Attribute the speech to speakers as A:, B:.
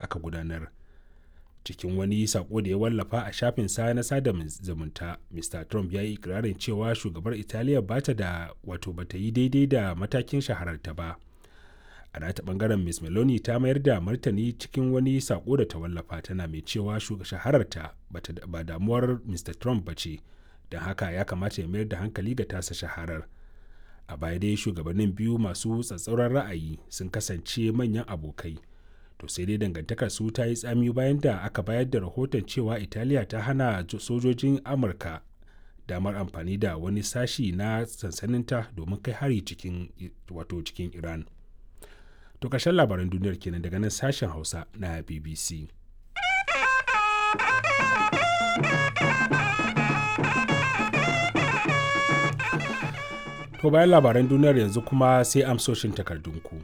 A: aka gudanar. Cikin wani sako da ya wallafa a shafin sa na sada zumunta, Mr. Trump ya yi ikirarin cewa shugabar Italiya ba ta da wato ba ta yi daidai da matakin shahararta ba. A nata bangaren, Ms. Meloni ta mayar da martani cikin wani sako da ta wallafa, tana mai cewa shahararta ba damuwar Mr. Trump ba ce, don haka ya kamata ya mayar da hankali ga tasa shaharar. A baya dai shugabannin biyu masu tsatsauran ra'ayi sun kasance manyan abokai. To sai dai dangantakar su ta yi tsami bayan da aka bayar da rahoton cewa Italiya ta hana sojojin Amurka damar amfani da wani sashi na sansaninta domin kai hari cikin wato cikin Iran. To ƙarshen labaran duniyar kenan daga nan sashen Hausa na BBC. To bayan labaran duniyar yanzu kuma sai amsoshin takardunku.